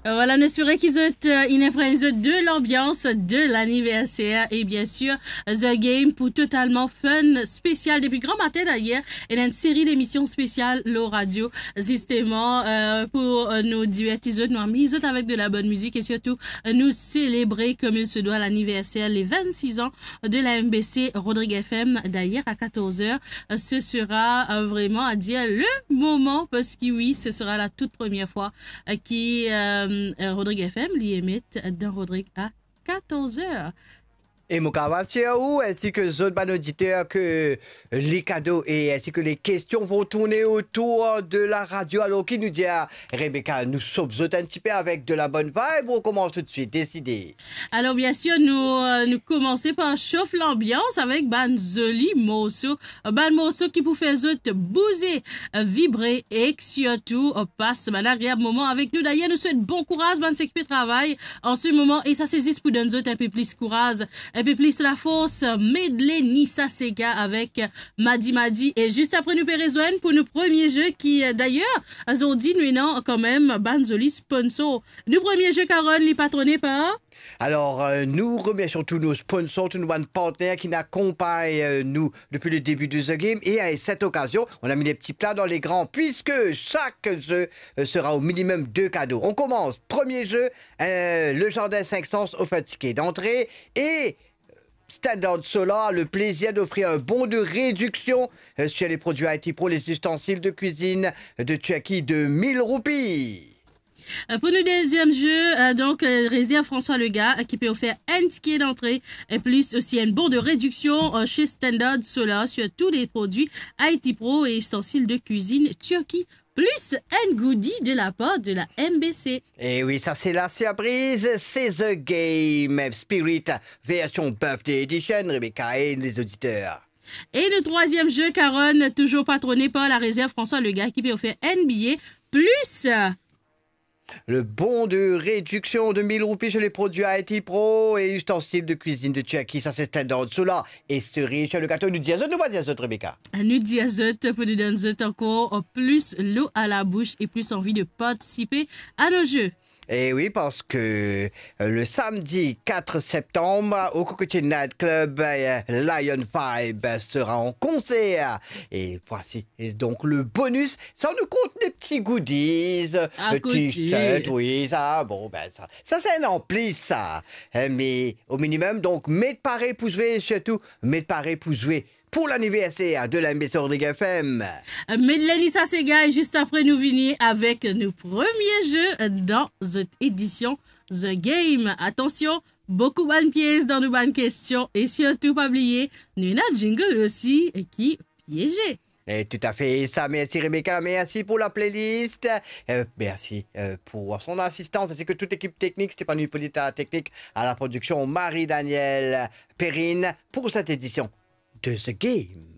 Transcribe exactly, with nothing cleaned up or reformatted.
Vwala, nou espere ki zot, euh, inn inpregn zot de lanbians de laniverser e, bien sir, The Game pou totalman fun spesial depi gramatin dayer. Ena enn seri demision spesial lor radio, zisteman, euh, pou, euh, nou diverti zot, nou amiz zot avek de la bonn mizik e sirtou, euh, nou selebre kouma il se dwa laniverser, le vingt-six ans de la M B C Rodrigue F M. Dayer, à quatorze heures, euh, ce sera, euh, vraiment à dire le moment, parski wi, ce sera la toute première fois, euh, ki, euh, euh, Rodrigue F M li emet dan Rodrigue à quatorze heures. E mo kapav asir ou, ainsi que zot bann oditer, que les cadeaux et ainsi que les questions vont tourner autour de la radio. Alors, ki nou dir, Rebecca, nou sof zot enn tipe avek de la bonne vibe ou on commence tout de suite? Décidez. Alor, bien sir, nou, euh, nou koumans par sof lanbians avek bann zoli morso, bann morso ki pou fer zot bouze, euh, vibre e sirtou, euh, pas bann agreab moman avek nou. Dayer, nou swet bon kouraz bann seki pe travay an se moman, e sa se zis pou donn zot inpe plis kouraz, inpe plis lafors. Medley Nissa Sega avek Madi Madi. E zis apre, nou pe rezwenn pou nou premie ze ki, euh, dayer, azordi, nou ena kanmem bann zoli sponsor. Nou premie ze, Carole, li patrone par... Alors, euh, nous remercions tous nos sponsors, tous nos bann partener ki inn akonpagn, euh, nou depuis le début de The Game. Et à cette occasion, on a mis les petits plats dans les grands, puisque chaque jeu, euh, sera au minimum deux cadeaux. On commence. Premier jeu, euh, le Jardin Cinq Sens offre un ticket d'entrée et Standard Solar a le plaisir d'offrir un bon de réduction, euh, sur les produits I T Pro, les ustensiles de cuisine de Turquie de mille roupies. Euh, pou nou deziem ze, euh, donk, euh, Réserve François Legain, euh, ki pe ofer enn tike dantre, e plis osi enn bon de rediksion, euh, chez Standard Solar sur tous les produits I T Pro et ustensiles de cuisine Turquie, plus un goodie de la part de la M B C. E wi, sa se la surprise, se The Game Spirit version Birthday Edition, Rebecca e les auditeurs. E nou trwaziem ze, Carole, toujours patrone par la Réserve François Legain, ki pe ofer enn biye plis. Le bon de réduction de mille roupies sur les produits I T Pro et ustensiles de cuisine de Turquie. Sa se Standard Solar e Cerise sur le gâteau. Nou dir zot, nou pa dir zot, Rebecca? Nou dir zot pou nou donn zot ankor plis lo a la bouch e plis anvi de partisipe a nou ze. E wi, parski, euh, le samedi quatre septembre, au Cocotier Night Club, euh, Lion Vibe sera en concert. Et voici, et donc le bonus, sa nou kont de pti goodies, euh, t-shirt, wi, sa, bon, ben, sa, sa se enn anplis, sa. Hein, mais au minimum, donc, met pare pou zwe, sirtou, met pare pou zwe pou laniverser de la M B C Rodrigue F M. Medley Nissa Sega, e zis apre nou vini avek nou premie ze dan zot edision The Game. Atansion, boukou bann piez dan nou bann kestion e sirtou pa bliye, nou ena jingle osi ki pieze. E tout à fait, sa, merci Rebecca, merci pour la playlist, euh, merci, euh, pour son assistance, ainsi que toute l'équipe technique, Stéphane Hippolyte à la technique, à la production, Marie-Danielle Perrine, pour cette édition de The Game.